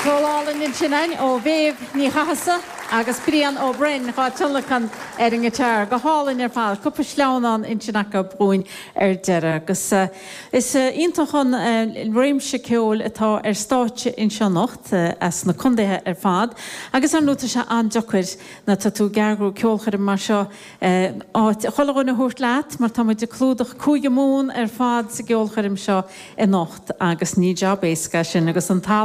Ceol álainn ansin againn ó Mhéabh Ní Chathasaigh agus Brian Ó Broin dhá dtionlacan ar an ngiotár. Go hálainn ar fad. Cúpla sleamhnán ansin acu dhúinn ar deireadh. Agus is iontach an réimse ceoil atá ar stáitse anseo anocht as na contaetha ar fad. Agus ar ndóigh tá sé an-deacair nuair atá tú ag eagrú ceolchoirm mar seo áit chuile dhuine a thabhairt leat mar tá muid ag clúdach Cúige Mumhan ar fad sa gceolchoirm seo anocht agus ní jab éasca é sin agus an tallann.